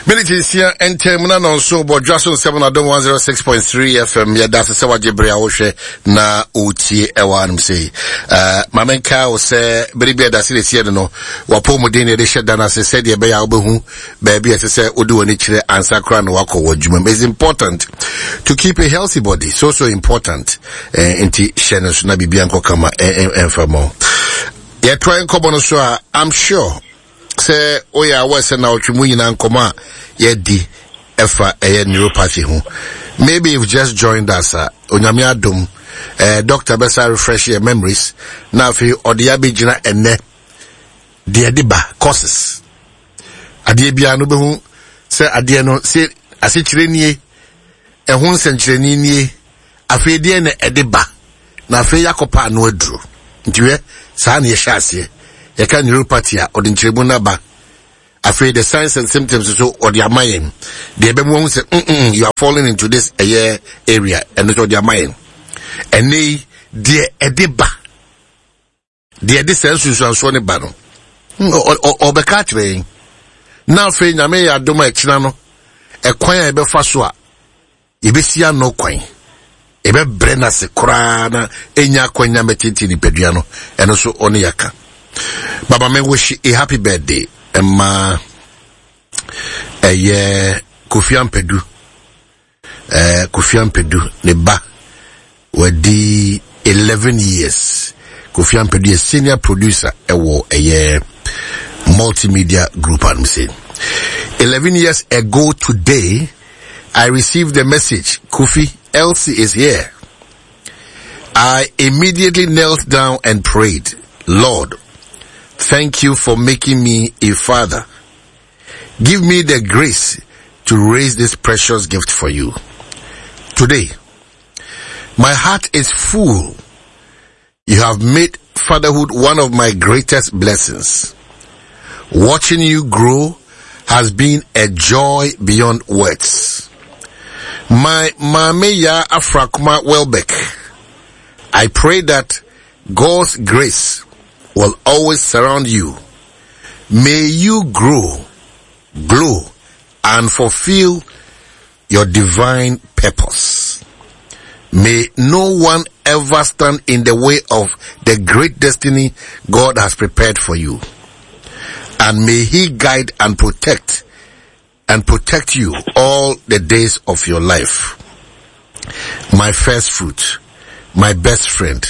Minute nsia ntɛm na nɔnso bɔ dwa so nsɛm na dom 106.3 FM yɛda ase sɛ wagye bere a wohwɛ na wotie ɛwɔ anom sei. Uh, ma menka wo sɛ bere bi a ɛda se na ɛsiɛ no no wapɔ mu den na yɛde hyɛ da no ase sɛdeɛ ɛbɛyɛ a wobɛhu baabi a ɛsɛ sɛ wode w'ani kyerɛ ansa koraa na wakɔ wɔ adwuma mu. It's important to keep a healthy body, so so important. Eh, nti hyɛ no so na biribia nkɔ kama ɛmfa ma wo. Yɛtoa nkɔmmɔ no so a, I'm sure sɛ woyɛ aware sɛ naawɔtwe mu nyinaa nkɔmmɔ a yɛadi ɛfa ɛyɛ neuropathy ho. Maybe you've just joined us a, Onyame adom, eh, doctor bɛsa refresh your memories na afei ɔde abɛgyina ɛnɛ deɛ ɛde ba causes. Adeɛ biara no bɛhu sɛ adeɛ no sɛ asekyerɛ nie, ɛho nsɛnkyerɛnne nie, afei deɛ na ɛde ba na afei yɛakɔpa ano aduro. Nti hwɛ, saa na yɛhyɛ aseɛ. Yɛka neuropathy a, ɔde nkyerɛmu no aba. Afei the signs and symptoms nso ɔde ama yɛn. Deɛ ɛbɛmu ahu sɛ mm mm you are falling into this ɛyɛ area, ɛno nso ɔde ama yɛn. Ɛnɛ yi, deɛ ɛde ba, deɛ ɛde saa nsunsuansoɔ no ba no, ɔbɛka akyerɛ yɛn. Na afei Nyame yɛ adom a ɛkyena no, ɛkwan a yɛbɛfa so a yɛbɛsi ano kwan, yɛbɛbrɛ no ase koraa na ɛnya akwanya mɛtete nipadua no, ɛno nso ɔne yɛaka. Baba me wish a happy birthday ɛma ɛyɛ Kofi Ampadu. Eh, Kofi Ampadu ne ba wadi 11 years. Kofi Ampadu yɛ senior producer ɛwɔ ɛyɛ multimedia group anum sɛ. 11 years ago today, I received the message, Kofi, Elsie is here. I immediately knelt down and prayed, Lord, thank you for making me a father. Give me the grace to raise this precious gift for you. Today, my heart is full. You have made fatherhood one of my greatest blessings. Watching you grow has been a joy beyond words. My Mame Ya Afrakuma Welbeck, I pray that God's grace will always surround you. May you grow, glow, and fulfill your divine purpose. May no one ever stand in the way of the great destiny God has prepared for you. And may he guide and protect you all the days of your life. My first fruit, my best friend,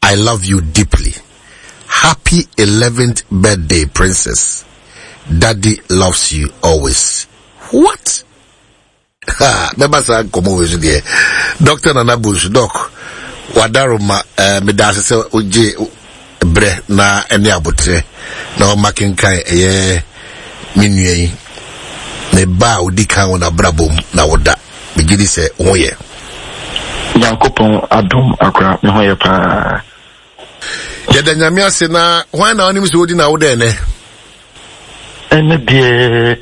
I love you deeply. Happy 11th birthday, princess. Daddy loves you always. What? Ha, mɛba saa nkɔmmɔ wei so deɛ. Dr. Nana Bush, Doc, wadaroma, eh, meda ase sɛ wogye berɛ na ɛne aboterɛ na wama kenkan ɛyɛ me nua yi ne ba a odi kan wɔ n'abrabɔ mu na woda. Megye di sɛ wo ho yɛ. Nyankopɔn adom akora me ho yɛ paa. Yɛda Nyame ase na hwan na wonim sɛ wodi na woda ɛnɛ? Ɛnɛ deɛ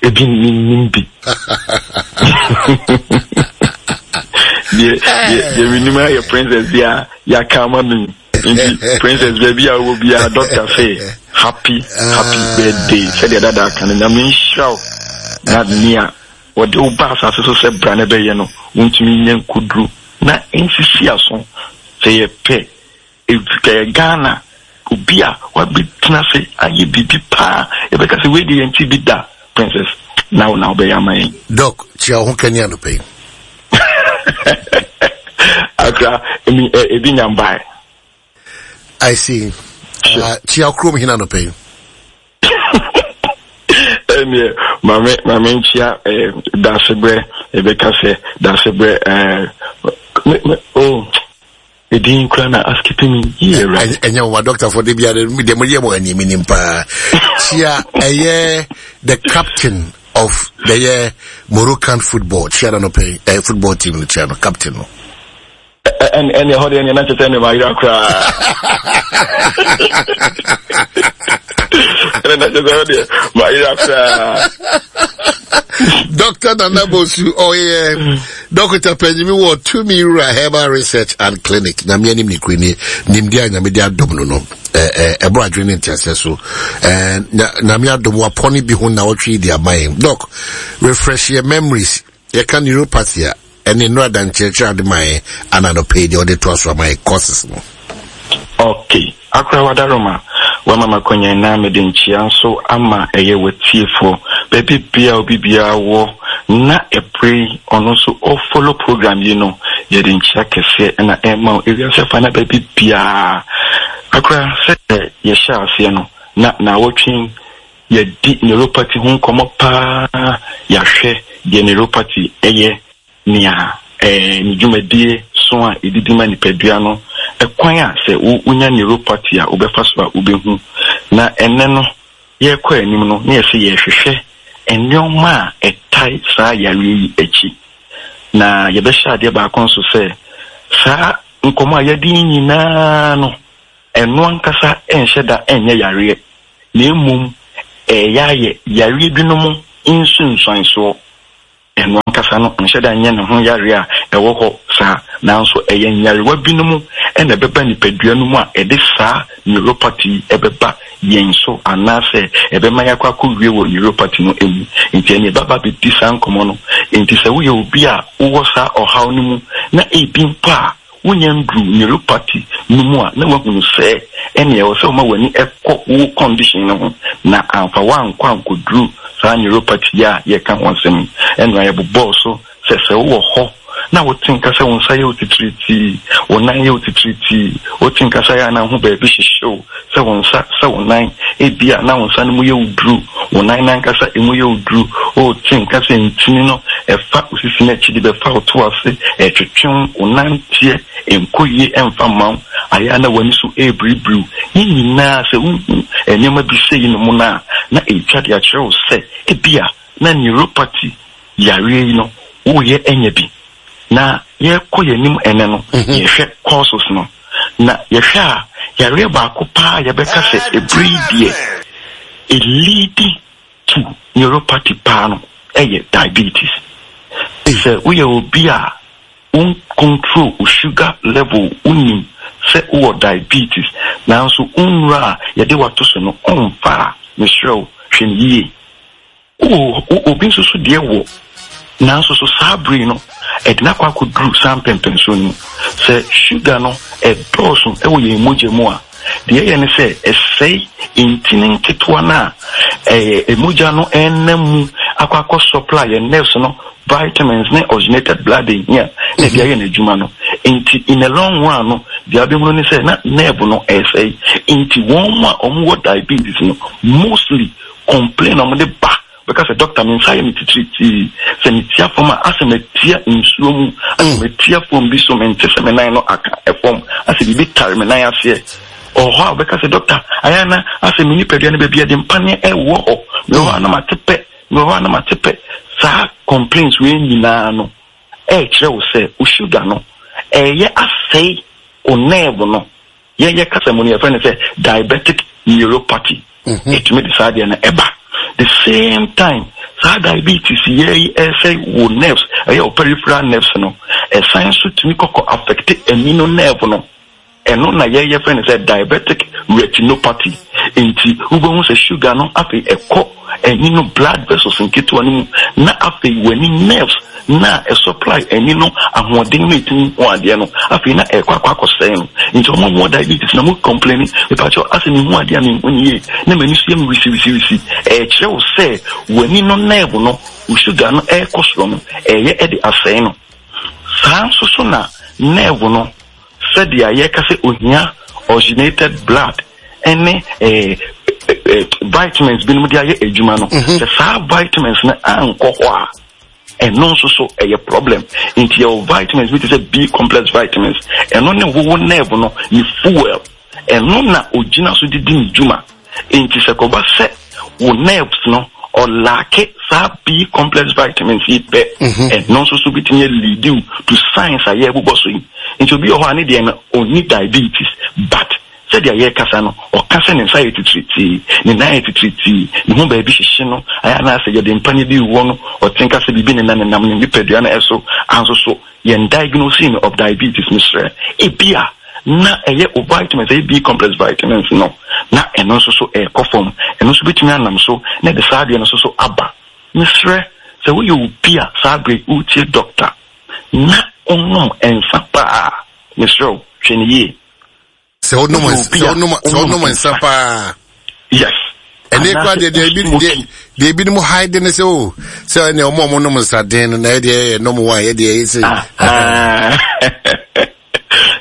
ebi menim bi. Deɛ deɛ menim ayɛ princess bi a yɛaka ama no yi. Nti princess baabi a wowɔ biara doctor sɛ happy happy birthday sɛdeɛ dada aka no Nyame nhyira wo na nea wɔde wo ba asase so sɛ bra na ɛbɛyɛ no wontumi nyɛ nkoduro na nsisi aso sɛ yɛpɛ ɛyɛ Ghana obi a wabɛtena ase ayɛ biribi paa yɛbɛka sɛ wei deɛ yɛnte bi da princess na wo na wobɛyɛ ama yɛn. Doc, kyia wo ho kani anɔpa yi. Akra, emi ebi nya mbae. I see. Kyia kurom hena anɔpa yi. Ɛneɛ maame maame nkyia dasebrɛ yɛbɛka sɛ dasebrɛ ɛɛ me me oh edin kura na askipi mi yie awurade. Ɛnyɛ wɔn adɔktafo de biara deɛ mo yɛ mo anim nim paa. Kyia ɛyɛ the captain of the yɛ Moroccan football kyia na no pɛ ɛyɛ football team no kyia no captain no. Ɛne ɛhɔ deɛ ɛneɛ na kyɛ sɛ ɛne mayera koraa. Ɛne na kyɛ sɛ ɛhɔ deɛ mayera koraa. Dr. Nana Bosu, ɔyɛ dɔkota panyimi wɔ Tumi Wura Herbal Research and Clinic. Nyame anim ne kure ne nimdeɛ a Nyame de adom no no. Ɛboro adwene ne nteaseɛ so. Nyame adom wapɔne bi ho na ɔtwe de ama yɛn. Doc, refresh your memories. Yɛka neuropathy a, ɛne nnora da nkyerɛkyerɛ ade ma yɛn ana anɔpa yi deɛ ɔde toa so ama yɛn courses no. Okay. Akora Wadaroma, wama m'akwanya na mede nkyea nso ama ɛyɛ w'atiefoɔ baabi bia obi biara wɔ na ɛberɛ yi ɔno nso ɔfollow program yi no, yɛde nkyea kɛseɛ na ɛma wo ewiase afa na baabi biara. Akora, sɛ yɛhyɛ aseɛ no na naawɔtwe yɛadi neuropathy ho nkɔmmɔ paa, yɛahwɛ deɛ neuropathy yɛ, nea ɛɛ ne dwumadie so a ɛdidi ma nipadua no, ɛkwan a sɛ wonya neuropathy a wobɛfa so a wobɛhu. Na ɛnnɛ no, yɛrekɔ anim no, na yɛsɛ yɛrehwehwɛ nneɛma a ɛtae saa yareɛ yi akyi. Na yɛbɛhyɛ adeɛ baako nso sɛ, saa nkɔmmɔ a yɛadi yi nyinaa no, ɛno ankasa nhyɛ da nyɛ yareɛ, na mmom ɛreyɛ ayɛ yareɛ binom nsunsuansoɔ. Ɛno ankasa no nhyɛ da nyɛ ne ho yareɛ a ɛwɔ hɔ saa, nanso ɛyɛ nyarewa binom na ɛbɛba nipadua no mu a ɛde saa neuropathy yi bɛba yɛn so anaasɛ ɛbɛma yɛakɔ akɔwie wɔ neuropathy no mu. Nti ɛnneɛ ɛbɛba abɛdi saa nkɔmmɔ no. Nti sɛ woyɛ obi a wowɔ saa ɔhaw no mu na ebi mpo a Wonnya nnuruu neuropathy no mu a na woahunu sɛ ɛnneɛ ɛwɔ sɛ woma w'ani kɔ wo condition no ho na amfa wo ankɔ ankɔduru saa neuropathy yi a yɛreka ho asɛm yi. Ɛno a yɛbobɔɔ so sɛ sɛ wowɔ hɔ na wote nka sɛ wo nsa yɛ wo titiritii, wo nan yɛ wo titiritii, wote nka sɛ ayɛ a na wo ho baabi hyehye wo, sɛ wo nsa, sɛ wo nan, ebia na wo nsa no mu yɛ wo duru, wo nan no ankasa emu yɛ wo duru, wote nka sɛ ntini no ɛfa wo sisi no akyi de bɛfa wo to ase, ɛretwetwe wo, wo nanteɛ nkɔ yie ɛmfa mma wo, ayɛ a na w'ani so ɛrebiribiriw. Ne nyinaa sɛ wohu nneɛma bi sei nom no a, na ɛretwa de akyerɛ wo sɛ ebia na neuropathy yareɛ yi no woreyɛ anya bi. Na yɛrekɔ yɛn anim ɛnnɛ no, yɛhwɛ courses no, na yɛhwɛ a, yareɛ baako paa a yɛbɛka sɛ ɛberɛ yi deɛ ɛleadi to neuropathy paa no ɛyɛ diabetes. Sɛ woyɛ obi a wo control wo sugar level, wonim sɛ wowɔ diabetes, nanso wo nnuro a yɛde wato so no ɔmfa a, mesrɛ wo hwɛ no yie. O, o, obi nso so deɛ wɔ, nanso so saa bere yi no, ɛde no akɔ akɔduru saa mpɛmpɛnsoɔ no mu. Sɛ sugar no ɛdɔɔso wɔ yɛn mogya mu a, deɛ ɛyɛ ne sɛ ɛsɛe ntini nketewa no a ɛyɛ mogya no ɛnam mu akɔ akɔ supply yɛn nerves no vitamins ne oxygenated blood ehia na ɛde ayɛ n'adwuma no. Nti in the long run no, deɛ abɛhunu ne sɛ na nerve no ɛresɛe. Nti wɔn a wɔwɔ diabetes no mostly Complain a wɔde ba bɛka sɛ doctor me nsa yɛ me titiritii, sɛ metia fam a asɛ matia nsuo mu, asɛ mm. matia fam bi so, mente sɛ me nan no aka ɛfam, asɛ biribi tare me nan aseɛ. Ɔwɔ hɔ a wɔbɛka sɛ doctor ayɛ ana asɛ me nipadua no baabi a de mpaneɛ ɛwɔ hɔ, mewɔ hɔ a na mate pɛ, mewɔ hɔ a na mate pɛ. Saa complaints wei nyinaa no ɛrekyerɛ wo sɛ wo sugar no ɛyɛ asɛe wo nerve no. Yɛn yɛ kasa mu no yɛfrɛ no sɛ diabetic neuropathy. Mhm. Ɛtumi de saa deɛ no ɛba. The same time saa diabetes yɛ yi ɛsɛ wo nerves, ɛyɛ wo peripheral nerves no, ɛsan nso tumi kɔkɔ affect ani no nerve no. Ɛno na yɛyɛ frɛ no sɛ diabetic retinopathy. Nti wobɛhu sɛ sugar no afei ɛkɔ ani no blood vessels nketewa no mu na afei w'ani nerves na ɛsupply ani no ahoɔden na ɛtumi hu adeɛ no afei na ɛkɔ akɔ akɔsɛe no. Nti ɔmo a wɔwɔ diabetes na mo complaini, mepakyɛw asɛ mehu adeɛ a menhu no yie na m'ani so yɛ me wisiwisiwisi, ɛkyerɛ wo sɛ w'ani no nerve no wo sugar no ɛrekɔ soro no ɛyɛ ɛde asɛe no. Saa nso so na nerve no sɛdeɛ yɛka sɛ ohia oxygenated blood ne eh, eh, vitamins binom de ayɛ adwuma no mhm. sɛ saa vitamins no ankɔ hɔ a ɛno nso so ɛyɛ problem nti yɛwɔ vitamins bi te sɛ b complex vitamins ɛno ne wowo nerve no ne fuel ɛno na ogyina so de di ne dwuma nti sɛ kɔba sɛ wo nerves no ɔlaake saa b complex vitamins yi pɛ mhm. ɛno nso so bitumi lead you to signs a yɛbobɔ so yi nti obi wɔ hɔ a ne deɛ no ɔnni diabetes but. Sɛdeɛ yɛrekasa no, ɔka sɛ ne nsa yɛ titiritii, ne nan yɛ titiritii, ne ho baabi hyehye no, ayɛ anaasɛ yɛde mpaneɛ bi rewɔ no, ɔte nka sɛ biribi nenam nenam ne nipadua no so, anso so yɛn diagnosing no of diabetes, mesrɛ, ebia na ɛyɛ o vitamins, ɛyɛ B complex vitamins no, na ɛno nso so ɛrekɔ fam, ɛno nso bɛtumi anam so na ɛde saa adeɛ no nso so aba. Mesrɛ, sɛ woyɛ obi a saa berɛ yi woretie dɔkta na wonom nsa paa, mesrɛ wo, hwɛ no yie. Sɛ wonom sɛ wonom sɛ wonom nsa paa. Yes. Ɛnne kura deɛ deɛ ebi deɛ deɛ ebinom hide ne sɛ o oh, sɛ ɛnna ɔmo a ɔmo nom nsa den no na ɛdeɛ ɛyɛ nom wa ɛyɛ deɛ ɛyɛ sɛ.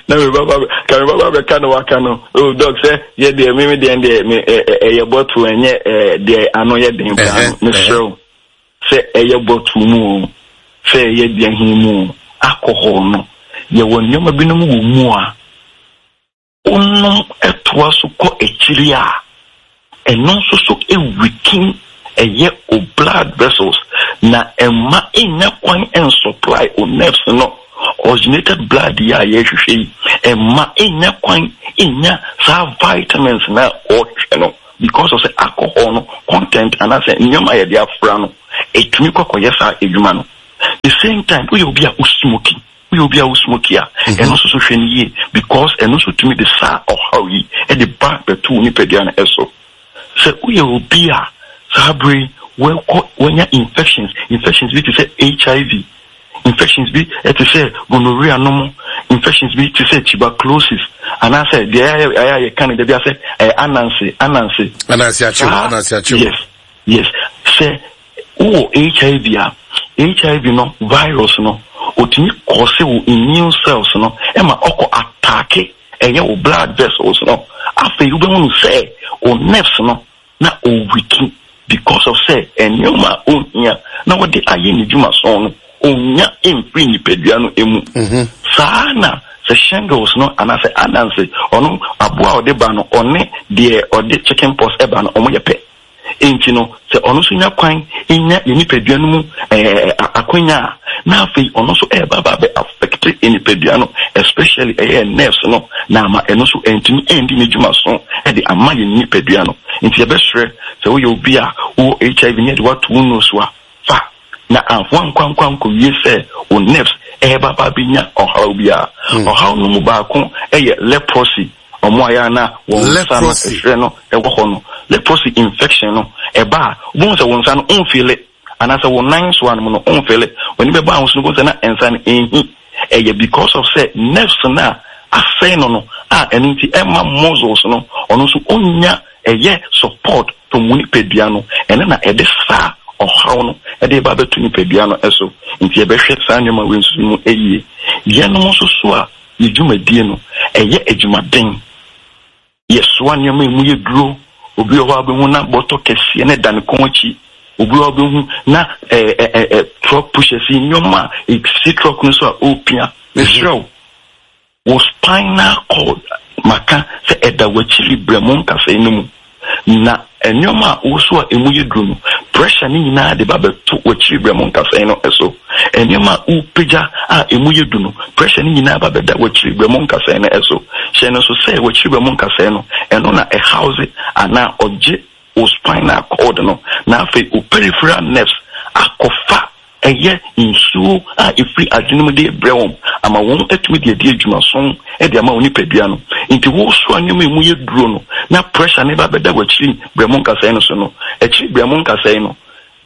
Na mi baba ka mi baba bɛka no waka no o oh, dɔk sɛ yɛ deɛ mi mi deɛ deɛ mi ɛyɛ bɔtol ɛnyɛ ɛɛ deɛ ano yɛ den paa no mesrɛ o sɛ ɛyɛ bɔtol mu o sɛ ɛyɛ deɛ hin mu o alcohol no yɛwɔ nneɛma binom wɔ mu a wonom toa so kɔ akyiri a, ɛno nso so weaken ɛyɛ o blood vessels na ɛmma ɛnnya kwan nsupply o nerves no oxygenated blood yi a yɛrehwehwɛ yi, ɛmma ɛnnya kwan nnya saa vitamins no a ɔrehwehwɛ no because of sɛ alcohol no content anaasɛ nneɛma a yɛde afra no ɛtumi kɔ kɔyɛ saa adwuma no. The same time woyɛ obi a wo smoking Woyɛ obi a wo smoke a, ɛno nso so hwɛ no yie because ɛno nso tumi de saa ɔhaw yi de ba bɛto wo nipadua no so. Sɛ woyɛ obi a saa bere yi wɔkɔ wɔanya infections, infections bi te sɛ HIV, infections bi te sɛ gonorrhea nom, infections bi te sɛ tuberculosis anaasɛ deɛ ɛyɛ a yɛka no da bi asɛ ɛyɛ ananse, ananse. Ananse akyew, ananse akyew. Yes, yes. Sɛ Wowɔ HIV a, HIV no virus no otumi kɔɔse wo immune cells no ma ɔkɔ ataake ɛyɛ wo blood vessels no. Afei wobɛhu no sɛ wo nerves no na ɔwiki because of sɛ nneɛma a ɔhia na ɔde ayɛ ne dwumason no ɔnnya mfiri nipadua no mu. Saa na sɛ shingles no anaasɛ ananse ɔno aboa a ɔde ba no ɔne deɛ ɔde chicken pox ba no wɔyɛ pɛ. Enti no, sɛ ɔno nso nya kwan nya yɛn nipadua no mu akwanya a, na afei ɔno nso ɛreba aba abɛ affect yɛn nipadua no, especially ɛyɛ yɛn nerves no, na ama ɛno nso antumi andi ne dwuma so de ama yɛn nipadua no. Nti yɛbɛsrɛ sɛ woyɛ obi a wowɔ HIV ne yɛde wo ato wo nnuro so a, fa na woankɔ ankɔwie sɛ wo nerves ɛreba aba abɛnya ɔhaw biara. Ɔhaw no mu baako yɛ leprosy. Wɔn a ɛyɛ a na wɔn nsa no ɛhwerɛ no wɔ hɔ no, leprosy infection no, ɛba a, wobɛhu sɛ wo nsa no wonfeele, anaasɛ wo nan nsoa no mu no wonfeele. W'ani bɛba ho so no, wobɛhu sɛ na nsa no ɛnhi. Ɛyɛ because of sɛ nerves no a asɛe no no a ɛno nti ɛmma muscles no, ɔno nso ɔnnya ɛyɛ support from wo nipadua no, ɛno na ɛde saa ɔhaw no ɛde ba bɛto nipadua no so. Nti yɛbɛhwɛ saa nneɛma wei nso mu yie. Yɛnom nso so a Yɛn dwumadie no, ɛyɛ adwumaden. Yɛsoa nneɛma a ɛmu yɛ duro. Obi wɔ hɔ a wobɛhu na bɔtɔ kɛseɛ no da ne kɔn akyi. Obi wɔ hɔ a wobɛhu na ɛɛ truck pushers yi, nneɛma a ɛsi truck no so a ɔrepia. Mesrɛ wo, wo spinal cord maka sɛ ɛda w'akyiri berɛmo nkasɛe no mu. Na nneɛma a woso a emu yɛ duru no, pressure no nyinaa de ba bɛto w'akyiri berɛmo nkasɛe no so. Nneɛma a wopagya a emu yɛ du no, pressure no nyinaa ba bɛda w'akyiri berɛmo nkasɛe no so. Hyɛ no nso sɛ w'akyiri berɛmo nkasɛe no, ɛno na ɛhouse anaa ɔgye wo spinal cord no, na afei wo peripheral nerves akɔfa Ɛyɛ nsuo a ɛfiri adwene mu de rebrɛ wɔn ama wɔn atumi de adi adwumason de ama wɔn nipadua no. Nti wosoa nneɛma a ɛmu yɛ duro no na pressure no ba bɛda w'akyiri berɛmo nkasɛe no so no, akyiri berɛmo nkasɛe no,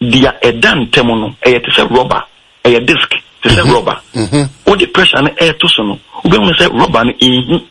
deɛ ɛda ntam no, ɛyɛ te sɛ rɔba, ɛyɛ disc te sɛ rɔba. Wode pressure no reto so no, wobɛhunu sɛ rɔba no ɛnhi.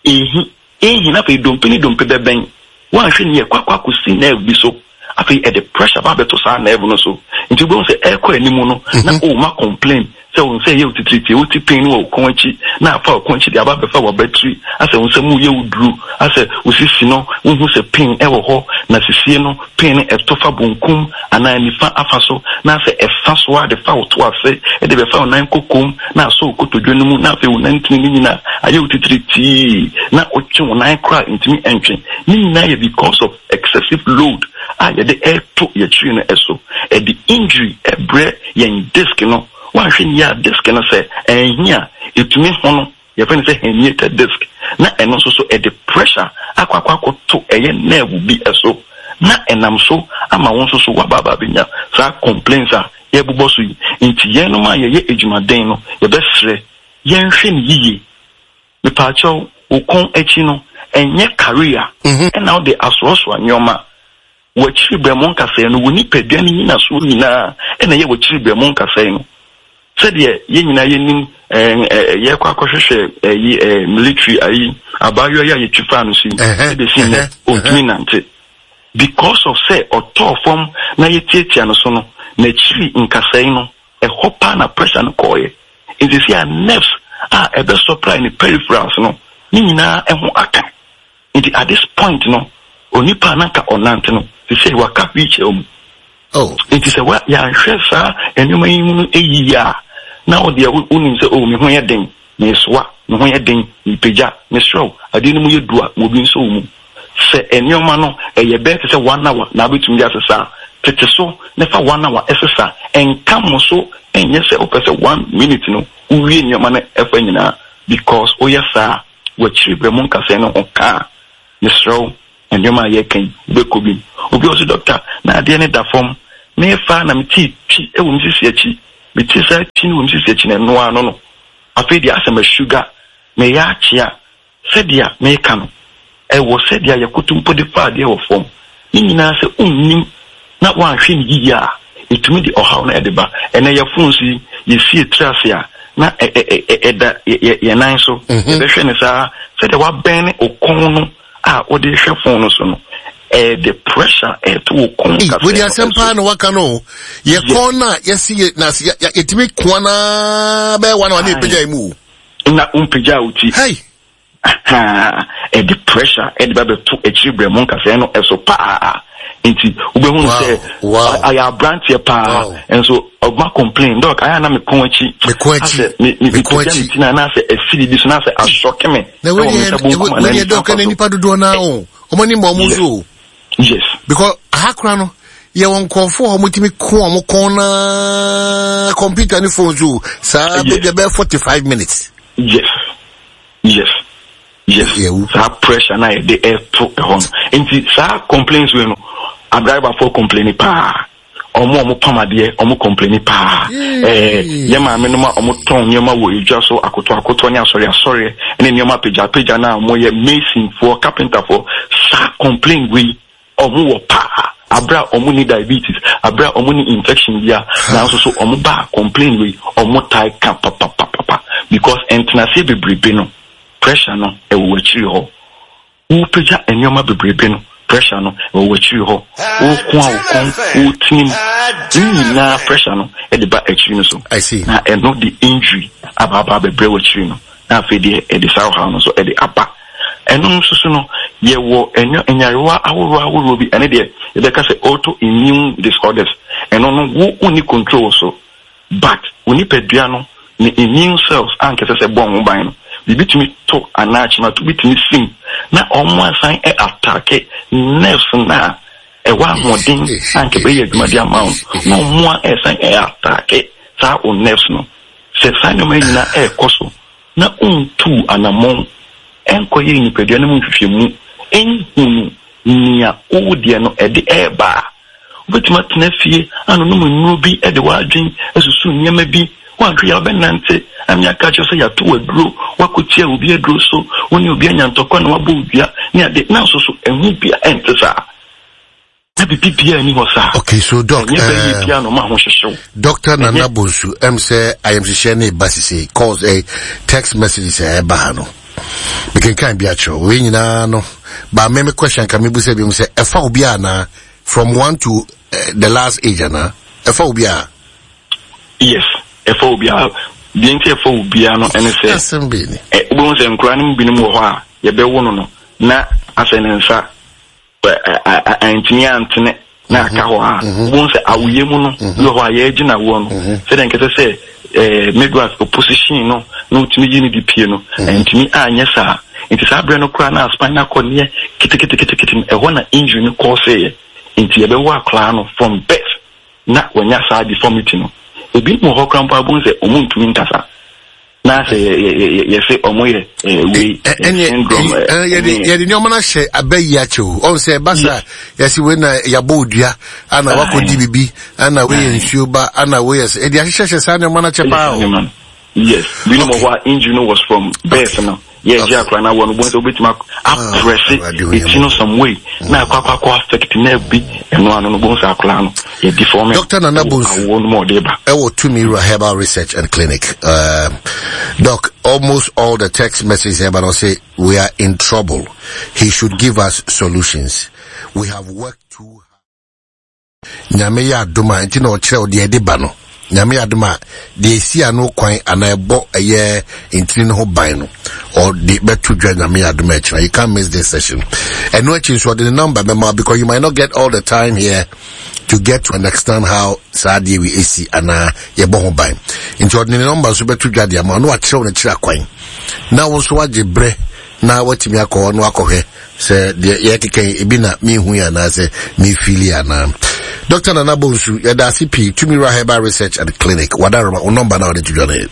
Ehi, ehi, na afei dompe ne dompe bɛbɛn. Woanhwɛ no yie a, ɛkɔ akɔ akɔsi nerve bi so. Afei ɛde pressure ba abɛto saa nerve no so. Nti wobɛhu sɛ ɛrekɔ anim no, na woma complain sɛ wo nsa ɛyɛ wo titiritii, wote pain wɔ wo kɔn akyi, na afa wo kɔn akyi de aba abɛfa w'abatiri, asɛ wo nsa mu yɛ wo duru, asɛ wo sisi no, wohu sɛ pain wɔ hɔ, na sisie no, pain no ɛtɔ fa bonkum anaa nifa afa so, na asɛ ɛfa so ara de fa wo to ase, de bɛfa wo nan kokom, na asɔ wo kotodwe no mu, na afei wo nantini no nyinaa ayɛ wo titiritii, na wotwe wo nan koraa a ntumi ntwe. Ne nyinaa yɛ because of excessive load a yɛde reto yɛn akyiri no so. Ɛde injury brɛ yɛn disc no. Woanhwɛ no yie a disc no sɛ anhi a, ɛtumi hono. Yɛfrɛ no sɛ herniated disc. Na ɛno nso so ɛde pressure akɔ akɔ akɔto ɛyɛ nerve bi so na ɛnam so ama wo nso so woaba aba abɛnya saa complaints a yɛrebobɔ so yi. Nti yɛnom a yɛyɛ adwumaden no yɛbɛsrɛ yɛnhwɛ no yiye. Mepaakyɛw, wo kɔn akyi no ɛnyɛ career ɛna wode asoasoa nneɛma. W'akyiri berɛmo nkasɛɛ no, wo nipadua no nnyinasoɔ nyinaa na ɛyɛ w'akyiri berɛmo nkasɛɛ no. Sɛdeɛ yɛn nyinaa yɛnim, ɛɛ, yɛkɔ akɔhwehwɛ ɛyi, ɛɛ, military ayi, abaayewa yi a yɛtwi faa no so yi, ɛbɛsi nnɛ, ɔntumi nnante. Because of sɛ ɔtɔɔ fam na yɛtiatia no so no, n'akyiri nkasɛe no, ɛhɔ paa na pressure no kɔɔeɛ. Nti seesei a nerves a ɛbɛ supply ne peripherals no, ne nyinaa ɛho aka. Nti at this point no, onipa a na nka ɔnante no, sesei waka wheelchair mu. Oh. Nti sɛ wa yɛanhwɛ saa nneɛma yi mu no yiye a, na wo deɛ wonim sɛ oh me ho yɛ den, mesoa, me ho yɛ den, mepagya, mesrɛ wo, adeɛ no mu yɛ du a, ma obi nsɔ wo mu. Sɛ nneɛma no ɛyɛ bɛyɛ te sɛ one hour na wobɛtumi de asesa a, tete so na fa one hour sesa. Nka mo so nyɛ sɛ wopɛ sɛ one minute no wowie nneɛma no ɛfa nyinaa because woyɛ saa a, W'akyiri berɛ mu nkasɛɛ no ho ka a, mesrɛ wo, nneɛma a yɛreka yi, wobɛkɔ bi mu. Obi wɔ so, dɔkta, na adeɛ no da fam. Merefa a na metee twi wɔ me sisi akyi. Metee saa twi no wɔ me sisi akyi no, ɛno ara no no. Afei deɛ asɛ masuga, mereyɛ akyea. Sɛdeɛ mereka no, ɛwɔ sɛdeɛ yɛkoto mpo de fa adeɛ wɔ fam. Ne nyinaa sɛ wonnim na woanhwɛ no yiye a, etumi de ɔhaw no de ba. Ɛnnɛ yɛn phones yi, yɛsi yɛn tiri ase a, na ɛda yɛn nan so. Yɛbɛhwɛ no saa. Sɛdeɛ woabɛn wo kɔn no a wode rehwɛ phone no so no, ɛde pressure ɛreto wo kɔn kasɛɛ no. Wei deɛ asɛm paa na waka no o. Yɛ kɔn no a yɛsi yɛ na yɛtumi koa no ara bɛyɛ one hour na yɛpagya yɛn mu o. Na wompagya wo ti. Hey! Ahaa, ɛde pressure ɛde ba bɛto akyiri brɛmo nkasɛɛ no ɛso paa. Nti wobɛhu no sɛ ayɛ aberanteɛ paa nso ɔma complain dɔk ayɛ na mekɔn akyi asɛ mepagya me ti no anaasɛ asi biribi so na asɛ asɔke me ɛwɔ me nsa bonkum anaa nifa so. Nipa dodoɔ naa o ɔmo ani ma ɔmo so o. Yes. Because aha kora no yɛwɔ nkurɔfoɔ a wɔtumi ko wɔn kɔn naa computer ne phone so saa baabi a bɛyɛ 45 minutes. Yes. Yes yes saa pressure na yɛde ɛto ɛhɔ no nti saa complaints wei no adriverfoɔ complaini paa ɔmo a ɔmo pam adeɛ ɔmo complaini paa ɛɛ yɛ maame nom a ɔmo tɔn nneɛma wɔ edwa so akoto akoto ne asɔre asɔre ne nneɛma apagya apagya na ɔmo yɛ masonfoɔ carpenterfoɔ saa complain wei Ɔmo wɔ paa aberɛ a ɔmo nni diabetes, aberɛ a ɔmo nni infection bia, nanso so ɔmo ba a complain wei ɔmo tae ka papapapapa because ntenaseɛ bebrebe no pressure no ɛwɔ w'akyiri hɔ. Wo pagya nnoɔma bebrebe no pressure no ɛwɔ w'akyiri hɔ. Wo ko a wo kɔn, wo tinim, ne nyinaa pressure no ɛde ba akyiri no so. Na ɛno de injury aba aba abɛbrɛ w'akyiri no. Na afei deɛ ɛde saa ɔhaw no nso ɛde aba. Ɛno nso so no, yɛwɔ ɛnyɔ nyarewa ahoroɔ ahoroɔ bi, ɛno deɛ yɛbɛka sɛ auto immune disorders. Ɛno no wo wonni control wɔ so, but wo nipadua no ne immune cells a anka ɛsɛ sɛ ɛbɔ ho ban no, biribi tumi to anaa kyemato bi tumi sim na wɔn asan attacke nerves no a ɛwɔ ahoɔden a anka ɛbɛyɛ adwuma de ama wo na wɔn a ɛsan attacke saa wo nerves no. Sɛ saa nneɛma yi nyinaa rekɔ so na wontuu anammɔn nkɔyɛɛ nipadua no mu nhwehwɛmu nhunuu nea wo deɛ no ɛde reba a, wobɛtumi atena fie anonom nnuro bi de w'adwene asusu nneɛma bi. Woanhwɛ yie a wobɛnante ame aka akyerɛ sɛ yɛato wo aduro, woakɔtia obi aduro so, wo ne obi anya ntɔkwa na woabɔ wo dua ne ade, nanso so ɛho biara nte saa. Na biribi biara nni hɔ saa. Okay, so doc, Ɛnyɛ bɛyɛ biara na ɔma ahohyehyew. Doctor Nana Bonsu, ɛm sɛ ayamhyehyɛ ne ba sise, calls, eh, text messages a ɛba ha no. Mekenkan bi akyerɛ wei nyinaa no, ba me me question ka mebu sɛ bi mu sɛ ɛfa obi anaa from one to uh, the last age anaa ɛfa obi a. Yes, ɛfa obi a. Deɛ nti ɛfa obiara no ɛne sɛ, Asɛm bi ni. wobɛhu sɛ nkoraa no mu binom wɔ hɔ a yɛbɛwo no no na asɛ ne nsa antumi antene na aka hɔ a, wobɛhu sɛ awoyɛ mu no, bi wɔ hɔ a yɛregye no awoɔ no, sɛdeɛ nkɛsɛ sɛ midwife opposition no na ɔtumi yi no de pie no, antumi anyɛ saa. Nti saa berɛ no koraa na spinal cord no yɛ keteketekete no, ɛhɔ na injury no kɔɔseeɛ. Nti yɛbɛwo akwadaa no from birth na wanya saa deformity no. Ebinom wɔ hɔ koraa mpo a wobɛhu sɛ wɔntumi nkasa. Na sɛ yɛ yɛ yɛ yɛsɛ ɔmo yɛ ɛɛ wei syndrome ɛɛ. Yɛde yɛde nneɛma no ahyɛ abɛ yi akyɛ o ɔn sɛ ɛba sa yɛsi wei na yabɔ odua ana wakɔ di bibi ana wei yɛ nsuo ba ana wei yɛ sɛ ɛde ahyehyɛhyɛ saa nneɛma no akyɛ paa o. Yes, binom wɔ hɔ a injury no was from birth no. Yɛ gye akora na wɔ no bɔn sɛ wobɛtumi aprɛse eti no some way na akɔ akɔ akɔ affect nerve bi ɛno ano no bɔn sɛ akora no yɛ deform. Dr. Nana Bonsu awoɔ no mu ɔde ba. Ɛwɔ Tumi Wura Herbal Research and Clinic. Uh, Doc, almost all the text messages here, but I'll say we are in trouble. He should give us solutions. We have worked too hard. Nyame yɛ adom a, nti na ɔkyerɛ wo deɛ ɛde ba no. Nyame yɛ adom a, deɛ ɛsi ano kwan anaa ɛbɔ ɛyɛ ntini no ho ban no, ɔde bɛto dwa Nyame yɛ adom a ɛkyena. You can't miss this session. Ɛno akyi nso ɔde ne number bɛma because you might not get all the time here to get to understand how saa adeɛ wi esi anaa yɛbɔ ho ban. Nti ɔde ne number nso bɛto dwa de ama na wakyerɛw ne kyerɛ akwan. Na wo nso wagye berɛ na watumi akɔ hɔ na wakɔhwɛ sɛ deɛ yɛkeka yi ebi na mehu yi anaasɛ mefili anaa. Dr. Nana Bonsu, yɛda ase pii, Tumi Wura Herbal Research and Clinic, wadaroma, wo nɔmba na wɔde to dwa no yɛ.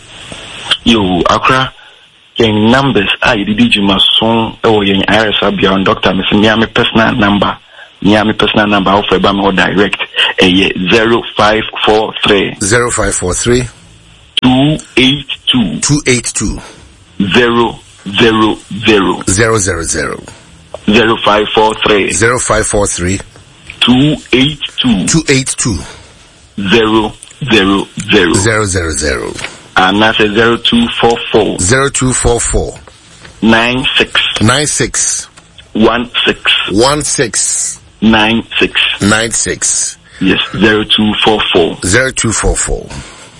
Yo, akora, yɛn numbers a yɛde di dwuma so wɔ yɛn ayaresabea no, doctor, mese mea me personal number, mea me personal number a wofrɛ ba me hɔ direct, ɛyɛ 0543. 0543. 282. 282. 0 0 0. 000. 0543. 0543. 282. 282. 0 0 0. 000. Anaasɛ 0244. 0244. 96. 96. 16. 16. 96. 96. Yes, 0244. 0244.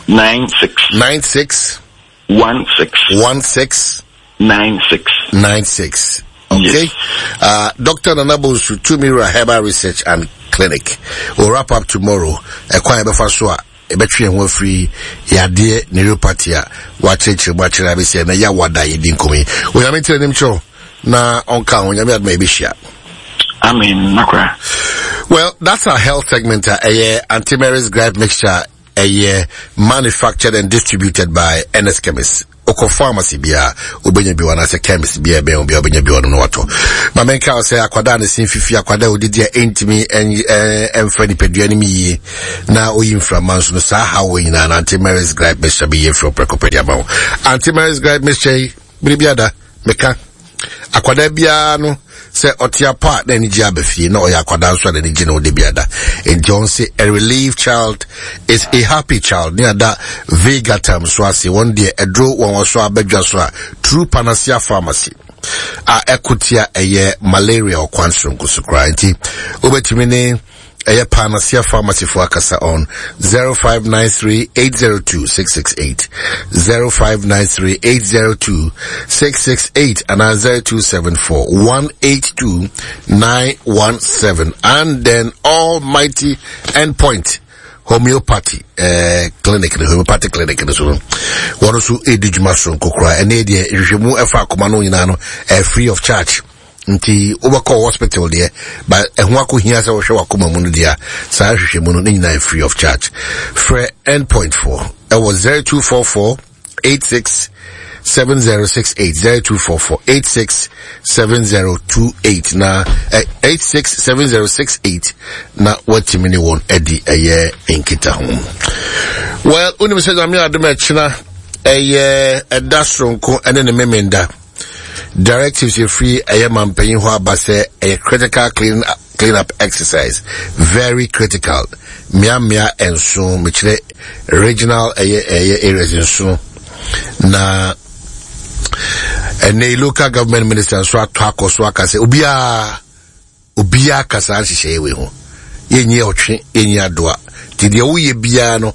96. 96. 16. 16. 96. 96. Okay. Yes. Uh, Dr. Nana Bonsu, Tumira Herbal Research and Clinic. We'll wrap up tomorrow. Ekwan ebefa so a ebetwe ho afiri yadeɛ neuropathy a wakyerɛkyerɛ mu akyerɛ abɛsi ɛnɛ yɛ awada yɛdi nkɔmɔ yi. Onyame nkyerɛ nim kyerɛw na ɔnka ho Onyame adoma yɛbɛhyia. Amen. Nakra. Well, that's our health segment. Uh, ɛyɛ Auntie Mary's gripe mixture ɛyɛ manufactured and distributed by NS Chemist. Okɔ pharmacy bia wobɛnya bi wɔ anaasɛ chemist bia ɛbɛn wo bia wobɛnya bi wɔ no na watɔ. Ma menka wo sɛ akwadaa ne sen fifi akwadaa a odidi a ɛntumi ɛmfa nipadua no mu yie na oyi mframa nso no saa haw wɔ nyinaa na Auntie Mary's gripe mixture bɛyɛ firi ɔprɛko pɛ de ama wo. Auntie Mary's gripe mixture yi bere bi ada meka akwadaa biara no sɛ ɔte apɔ a na ani gye aba fie na ɔyɛ akwadaa nso a n'ani gye na ɔde bi ada nti ɔn se a relieved child is a happy child ne ada vegatam so ase wɔn deɛ ɛduro wɔn wɔ so abadwa so a true panacea pharmacy a ɛko tia ɛyɛ malaria ɔkwan soronko so koraa nti wobɛtumi ne ɛyɛ Panacea Pharmacy fo akasa on 0593 802 668 0593 802 668 anaa 0274 182 917 and then Almighty Endpoint homeopathy eh, clinic no homeopathy clinic no so no wɔn nso redi dwuma soronko koraa ɛne deɛ nhwehwɛmu ɛfa akoma no nyinaa no eh, free of charge nti wobɛkɔ hospital deɛ ba ɛho akɔhia sɛ wohwɛ wakoma mu no deɛ a saa nhwehwɛmu no ne nyinaa free of charge frɛ endpoint foɔ ɛwɔ 0244 86 7068 0244 86 7028 na eh, 86 7068 na watumi ne wɔn adi ɛyɛ nkita ho well wonim sɛ nyame adom ɛkyena ɛyɛ ɛda soronko ɛne ne memenda Directives efiri ɛyɛ mampanyin hɔ aba sɛ ɛyɛ critical clean clean up exercise very critical mmeammea nson mekyerɛ regional ɛyɛ ɛyɛ areas nson na ɛnɛ local government minister nso atɔ akɔ so aka sɛ obiara obiara ka saa nhyehyɛeɛ wei ho yɛnyi ɔtwe yɛnyi adoa nti deɛ woyɛ biara no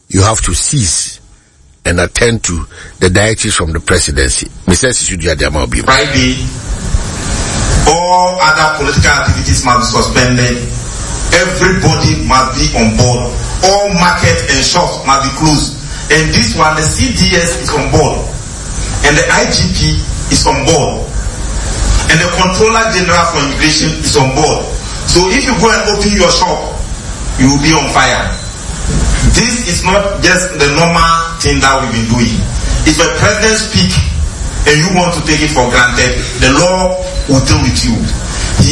you have to cease and attend to the directives from the presidency. Mr. Sisudu Friday, all other political activities must be suspended. Everybody must be on board. All markets and shops must be closed. And this one, the CDS is on board. And the IGP is on board. And the Controller General for Immigration is on board. So if you go and open your shop, you will be on fire. This is not just the normal thing that we've been doing. If a president speak and you want to take it for granted, the law will deal with you.